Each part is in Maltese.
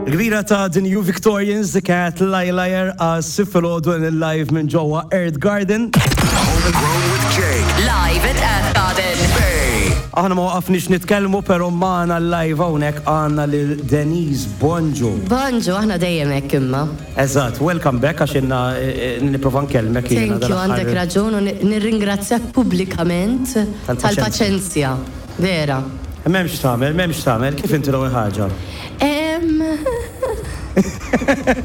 Il-kbira ta' The New Victorians kienet Liar għas filgħodu live minn ġewwa Earth Garden. Homegrown with Jake. Live at Earth Garden. Bay. Aħna ma waqafniex nitkellmu però magħna live hawnhekk għandna lil Denise Bonġu. Bonġu, aħna dejjem hekk imma. Eżatt, welcome back għax inna nipprova nkellmek jiena Thank you, għandek raġun u nirringrazzjak pubblikament Tal-paċenzja. tal-paċenzja. Vera. M'hemmx tagħmel, m'hemmx tagħmel, kif inti l-ewwel ħaġa?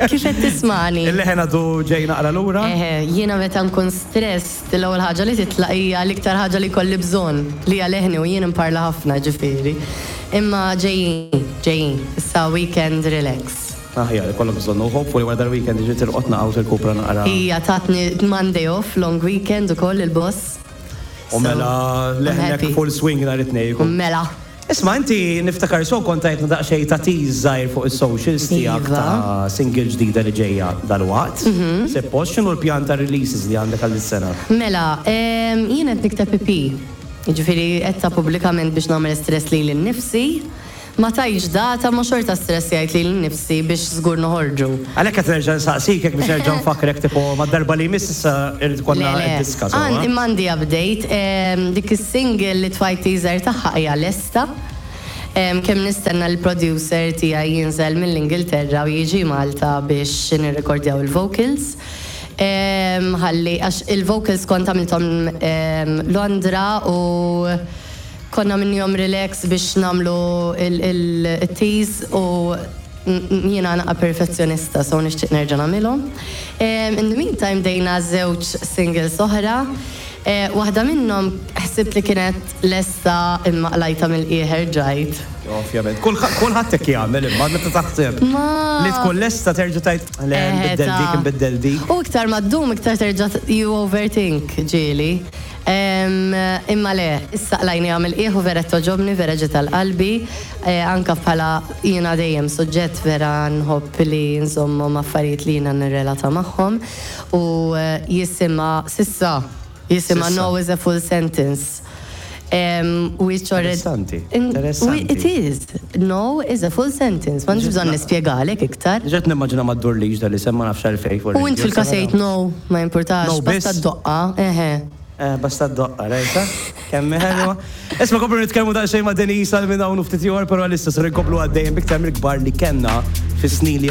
Kif qed tismani? Il-leħen għadu ġej naqra lura? Eħe, jiena meta nkun stressed, l-ewwel ħaġa li titlaq hija l-iktar ħaġa li jkolli bżonn, li hija leħni u jien imparla ħafna ġifieri. Imma ġejjin, ġejjin. Issa weekend relax. Aħjar, ikollok bżonn u hopefully wara dal-weekend iġi tirqod naqgħu tirkupra naqra. Hija tatni Monday off, long weekend ukoll il-boss. U mela I'm leħnek happy. full swing nhar it-tnejn. Mela. Isma' inti niftakar so kont tajtna daqsxejn ta' tease żgħir fuq is-socials tiegħek Iva. ta' single ġdida li ġejja dalwaqt. Suppost x'inhu l-pjan ta' releases li għandek għal sena? Mela, jien qed nikteb EP. Jiġifieri qed ta' pubblikament biex nagħmel stress lili nnifsi. Ma tajtx data ma xorta stress jgħid lili nnifsi biex żgur noħorġu. Għalhekk qed nerġa' nsaqsik hekk biex nerġa' nfakkrek tipo mad-darba li jmiss issa irid ikollna Le, le. diska Għan, sewwa. imma għandi update, dik is-single li tfajt teaser tagħha hija lesta. Kemm nistenna l-producer tiegħi jinżel mill-Ingilterra u jiġi Malta biex nirrekordjaw il-vocals. Ħalli, għax il-vocals kont għamilthom Londra u konna minnhom relax biex nagħmlu il-tease u jiena naqa perfezzjonista, so nixtieq nerġa' nagħmilhom. In the meantime bdejna żewġ singles oħra. Waħda minnhom ħsibt li kienet lesta imma qlajta mill-qiegħ ġajt. Ovvjament, kulħadd hekk jagħmel imma meta taħseb li tkun lesta terġa' tgħid le nbiddel dik, nbiddel dik. U iktar ma ddum iktar terġa' you overthink ġieli. Imma le, issa qlajni għamil qiegħ u vera togħġobni, vera ġiet għal qalbi. Anka bħala jiena dejjem suġġett vera nħobb li nżommhom affarijiet li jiena nirrelata magħhom u jisimha s'issa jisimha S'issa. No is a full sentence. Which already Interessanti, It interessanti. is. No is a full sentence. M'għandix bżonn nispjegalek iktar. Ġet nimmaġina ma ddurlix dal-isem ma nafx għalfejn. U int fil-każ għidt no, ma jimpurtax, No, basta biss. d-doqqa, eħe. Basta d-doqqa, rajta? Kemm ħelwa. Isma' komplu nitkellmu daqsxejn ma' Denise għal minn hawn u ftit ieħor, però issa ser inkomplu għaddejjem biktar mill-kbar li kellna fis-snin li